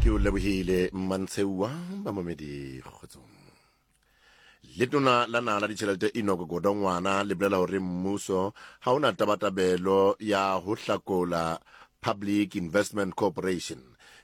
Ke o lebohile Mmantsheua bamamedi kgotsong. Letona la naha la ditjhelete Enoch Godongwana le bolela hore mmuso ha o na tabatabelo ya ho hlakola Public Investment Corporation.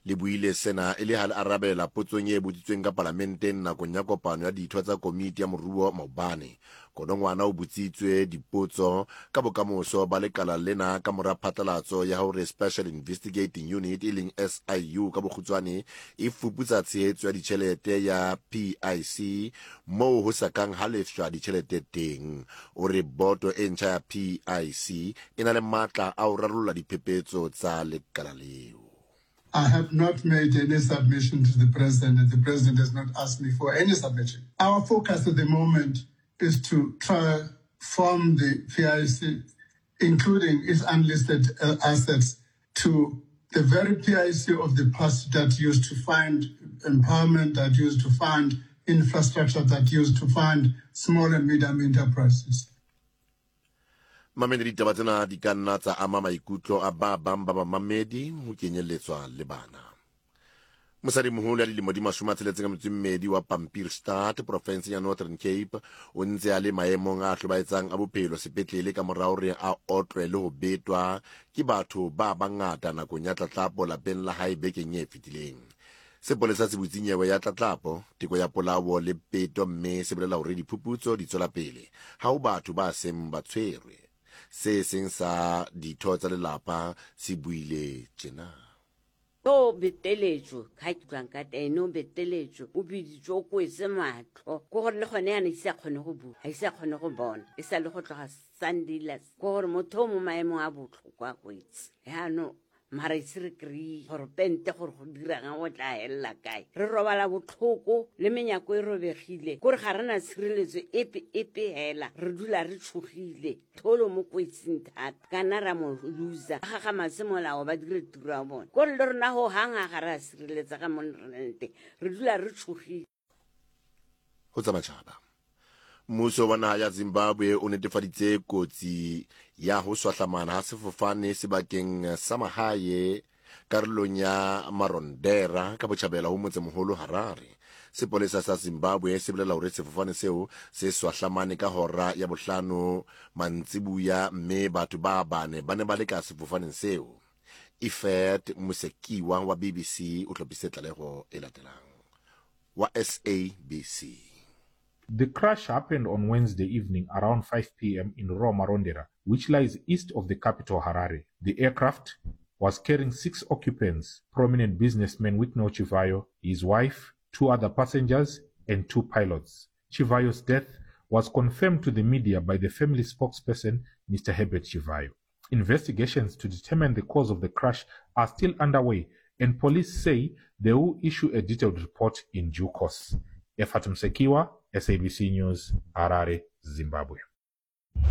Le buile sena e le ha le arabela potsong e botsitsweng ka palamenteng nakong ya kopano ya ditho tsa komiti ya moruo maobane. Godongwana o botsitswe dipotso ka bokamoso ba lekala lena ka mora phatlalatso ya hore Special Investigating Unit e leng SIU ka bokgutshwane e fuputsa tshehetso ya ditjhelete ya PIC moo ho sa kang ha lefshwa ditjhelete teng. O re boto e ntjha ya PIC e na le matla a ho rarolla diphephetso tsa lekala leo. I have not made any submission to the president and the president has not asked me for any submission. Our focus at the moment is to try form the PIC, including its unlisted uh, assets, to the very PIC of the past that used to fund empowerment, that used to fund infrastructure, that used to fund small and medium enterprises. Mamedi ditaba tsena di ka nna tsa ama maikutlo a ba bang ba bamamedi ho kenyelletswa le bana. Mosadimoholo ya dilemo di 62 wa Pampierstad porofenseng ya Northern Cape o ntse a le maemong a hlobaetsang a bophelo sepetlele ka mora hore a otlwe le ho betwa ke batho ba bangata nakong ya tlatlapo lapeng la hae bekeng e fetileng. Sepolesa se butse nyewe ya tlatlapo, teko ya polao le peto mme se bolela hore diphuputso di tswela pele. Ha ho batho ba seng ba tshwerwe. Se seng sa ditho tsa lelapa se buile tjena. O beteletšwe, ga ke utlwang ka teng, o beteletšwe, o biditswe, o kwetse matlho. Ke gore le gone yana ise a kgone go bua, ga ise a kgone go bona, e sa le go tloga Sunday last. Ke gore motho o mo maemong a botlhokwa go itse. Jaanong mara ise re kry-e gore pente gore go dirang go tla helela kae re robala botlhoko le menyako e robegile kore ga re na tshireletso epe epe hela re dula re tshogile tholo mo kwetsing thata kana ra mo loser ga ga matse molao ba dire tiro ya bone kore le rona go hang ga re a sireletsa ga mo re teng re dula re tshogile Ho tsa matjhaba. Mmuso wa naha ya Zimbabwe o netefaditse kotsi ya ho swahlamana ha sefofane sebakeng sa mahae karolong ya Marondera ka botjhabela ho motsemoholo Harare. Sepolesa sa Zimbabwe se bolela hore sefofane seo se swahlamane ka hora ya bohlano mantsibuya mme batho ba bane ba ne ba le ka sefofaneng seo. Ifet Musekiwa wa BBC o hlophisitse tlaleho e latelang. Wa SABC. The crash happened on Wednesday evening around 5 p.m. in rural Marondera, which lies east of the capital Harare. The aircraft was carrying six occupants, prominent businessman Wicknell Chivayo, his wife, two other passengers, and two pilots. Chivayo's death was confirmed to the media by the family spokesperson, Mr. Herbert Chivayo. Investigations to determine the cause of the crash are still underway and police say they will issue a detailed report in due course. Efat Msekiwa, SABC News, Harare, Zimbabwe.